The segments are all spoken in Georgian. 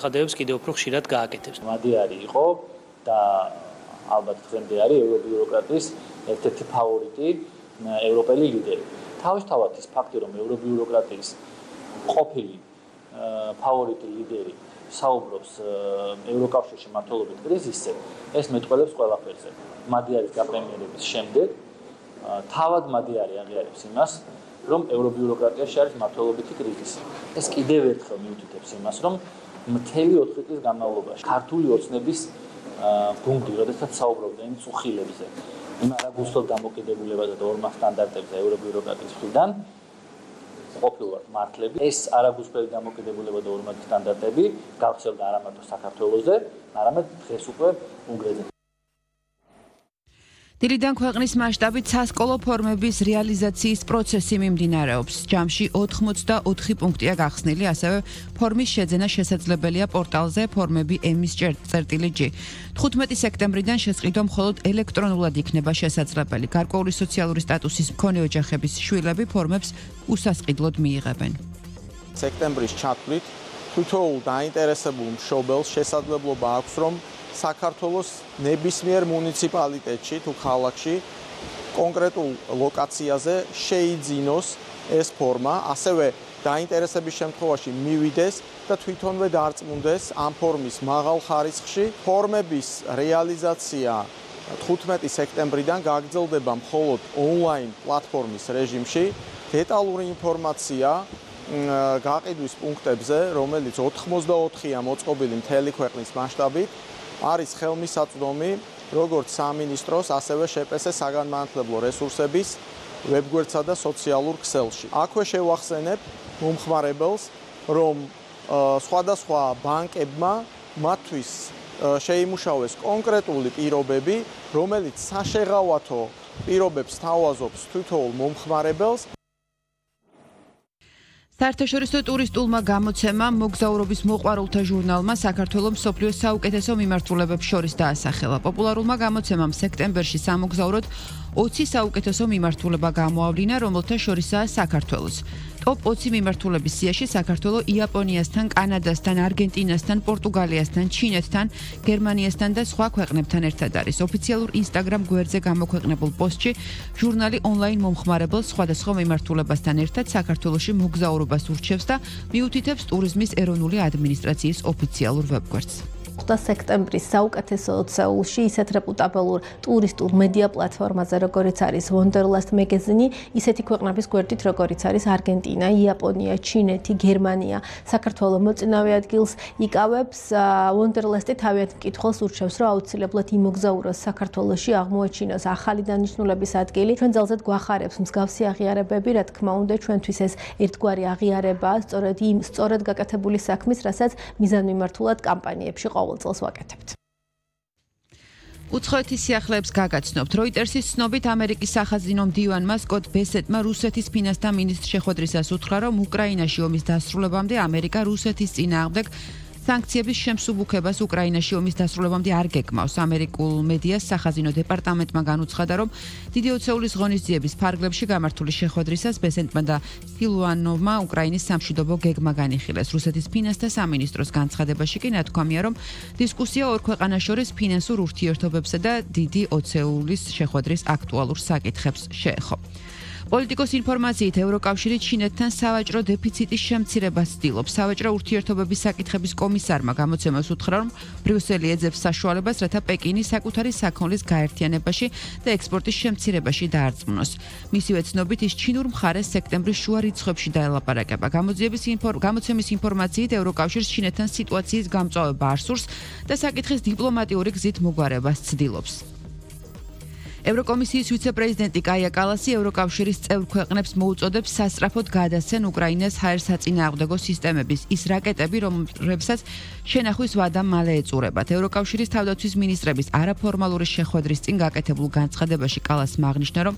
ხადებს კიდევ უფრო ხშირად გააკეთებს. მადიარი იყო და ალბათ დღემდე არის ევრობიუროკრატიის ერთ-ერთი ფავორიტი ევროპელი ლიდერი. თავისთავად ის ფაქტი, რომ ევრობიუროკრატიის ყოფილი ფავორიტი ლიდერი საუბრობს ევროკავშირში მმართველობით კრიზისზე, ეს მეტყველებს ყველაფერზე. მადიარის გაპრემიერების შემდეგ თავად მადიარი აღიარებს იმას, რომ ევრობიუროკრატიაში არის მმართველობითი კრიზისი. ეს კიდევ ერთხელ მიუთითებს იმას, რომ მთელი 4 წლის განმავლობაში ქართული ოცნების გუნდი, როდესაც საუბრობდა იმ წუხილებზე, იმ არაგულსდელ დამოკიდებულებაზე და ორმახ სტანდარტებზე ევრობიუროკრატიის მხრიდან, ყოფილვართ მართლები. ეს არაგულსდელი დამოკიდებულება და ორმახ სტანდარტები გავრცელდა არა მარტო საქართველოზე, არამედ დღეს უკვე უნგრეთზე. დილიდან ქვეყნის მასშტაბით სასკოლო ფორმების რეალიზაციის პროცესი მიმდინარეობს. ჯამში 84 პუნქტია გახსნილი, ასევე ფორმის შეძენა შესაძლებელია პორტალზე ფორმები ემის.წერტილი.g. 15 სექტემბრიდან შესყიდვა მხოლოდ ელექტრონულად იქნება შესაძლებელი. გარკვეული სოციალური სტატუსის მქონე ოჯახების შვილები ფორმებს უსასყიდლოდ მიიღებენ. სექტემბრის ჩათვლით თითოეულ დაინტერესებულ მშობელს შესაძლებლობა აქვს, რომ საქართველოს ნებისმიერ მუნიციპალიტეტში თუ ქალაქში კონკრეტულ ლოკაციაზე შეიძინოს ეს ფორმა, ასევე დაინტერესების შემთხვევაში მივიდეს და თვითონვე დარწმუნდეს ამ ფორმის მაღალ ხარისხში. ფორმების რეალიზაცია 15 სექტემბრიდან გაგრძელდება მხოლოდ ონლაინ პლატფორმის რეჟიმში. დეტალური ინფორმაცია გაყიდვის პუნქტებზე, რომელიც 84-ია მოწყობილი მთელი ქვეყნის მასშტაბით, არის ხელმისაწვდომი როგორც სამინისტროს, ასევე შპს საგანმანათლებლო რესურსების ვებგვერდსა და სოციალურ ქსელში. აქვე შევახსენებ მომხმარებელს, რომ სხვადასხვა ბანკებმა მათთვის შეიმუშავეს კონკრეტული პირობები, რომელიც საშეღავათო პირობებს თავაზობს თითოეულ მომხმარებელს. საერთაშორისო ტურისტულმა გამოცემამ მოგზაურობის მოყვარულთა ჟურნალმა საქართველოს მსოფლიოს საუკეთესო მიმართულებებს შორის დაასახელა. პოპულარულმა გამოცემამ სექტემბერში სამოგზაუროდ 20 საუკეთესო მიმართულება გამოავლინა, რომელთა შორისაა საქართველოს. ტოპ 20 მიმართულების სიაში საქართველო იაპონიასთან, კანადასთან, არგენტინასთან, პორტუგალიასთან, ჩინეთთან, გერმანიასთან და სხვა ქვეყნებთან ერთად არის. ოფიციალურ ინსტაგრამ გვერდზე გამოქვეყნებულ პოსტში ჟურნალი ონლაინ მომხმარებელს სხვადასხვა მიმართულებასთან ერთად საქართველოში მოგზაურობას ურჩევს და მიუთითებს ტურიზმის ეროვნული ადმინისტრაციის ოფიციალურ ვებგვერდს. 8 სექტემბრის საუკეთესო 20-ში ისეთ რეპუტაბელურ ტურისტულ მედია პლატფორმაზე, როგორიც არის Wanderlust Magazine, ისეთი ქვეყნების გვერდით, როგორიც არის არგენტინა, იაპონია, ჩინეთი, გერმანია, საქართველოს მოწინავე ადგილს იკავებს. Wanderlust-ი თავიანთ მკითხველს ურჩევს, რომ აუცილებლად იმოგზაუროს საქართველოში, აღმოაჩინოს ახალი დანიშნულების ადგილი. ჩვენ ძალზედ გვახარებს მსგავსი აღიარებები, რა თქმა უნდა, ჩვენთვის ეს ერთგვარი აღიარებაა, სწორედ იმ სწორად გაკეთებული საქმის, რასაც მიზანმიმართულად კამპანიებში ყოველწელს ვაკეთებთ. უცხოეთის სიახლეებს გაგაცნობთ. როიტერსის ცნობით ამერიკის სახაზინო მდივანმა სკოტ ბესეტმა რუსეთის ფინანსთა მინისტრს შეხვედრისას უთხრა, რომ უკრაინაში ომის დასრულებამდე ამერიკა რუსეთის წინააღმდეგ სანქციების შემსუბუქებას უკრაინაში ომის დასრულებამდე არ გეგმავს. ამერიკულ მედიას სახაზინო დეპარტამენტმა განუცხადა, რომ დიდი ოცეულის ღონისძიების ფარგლებში გამართული შეხვედრისას ბესეტმა და სილუანოვმა უკრაინის სამშვიდობო გეგმა განიხილეს. რუსეთის ფინანსთა სამინისტროს განცხადებაში კი ნათქვამია, რომ დისკუსია ორ ქვეყანას შორის ფინანსურ ურთიერთობებსა და დიდი ოცეულის შეხვედრის აქტუალურ საკითხებს შეეხო. პოლიტიკოს ინფორმაციით ევროკავშირი ჩინეთთან სავაჭრო დეფიციტის შემცირებას ცდილობს. სავაჭრო ურთიერთობების საკითხების კომისარმა გამოცემას უთხრა, რომ ბრიუსელი ეძებს საშუალებას, რათა პეკინი საკუთარი საქონლის გაერთიანებაში და ექსპორტის შემცირებაში დაარწმუნოს. მისივე ცნობით ის ჩინურ მხარეს სექტემბრის შუა რიცხვებში დაელაპარაკება. გამოცემის ინფორმაციით ევროკავშირს ჩინეთთან სიტუაციის გამწვავება არ სურს და საკითხის დიპლომატიური გზით მოგვარებას ცდილობს. ევროკომისიის ვიცე-პრეზიდენტი კაია კალასი ევროკავშირის წევრ ქვეყნებს მოუწოდებს სასწრაფოდ გადასცენ უკრაინას ჰაერსაწინააღმდეგო სისტემების ის რაკეტები, რომლებსაც შენახვის ვადა მალე ეწურებათ. ევროკავშირის თავდაცვის მინისტრების არაფორმალური შეხვედრის წინ გაკეთებულ განცხადებაში კალასმა აღნიშნა, რომ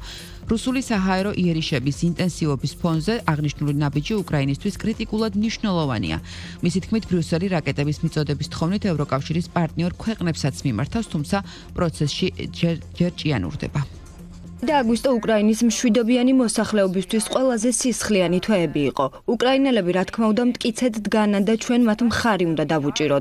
რუსული საჰაერო იერიშების ინტენსივობის ფონზე აღნიშნული ნაბიჯი უკრაინისთვის კრიტიკულად მნიშვნელოვანია. მისი თქმით, ბრიუსელი რაკეტების მიწოდების თხოვნით ევროკავშირის პარტნიორ ქვეყნებსაც მიმართავს, თუმცა პროცესში ჯერ ჭიანურდება. და აგვისტო უკრაინის მშვიდობიანი მოსახლეობისთვის ყველაზე სისხლიანი თვეები იყო. უკრაინელები, რა თქმა უნდა, მტკიცედ დგანან და ჩვენ მათ მხარი უნდა დავუჭიროთ.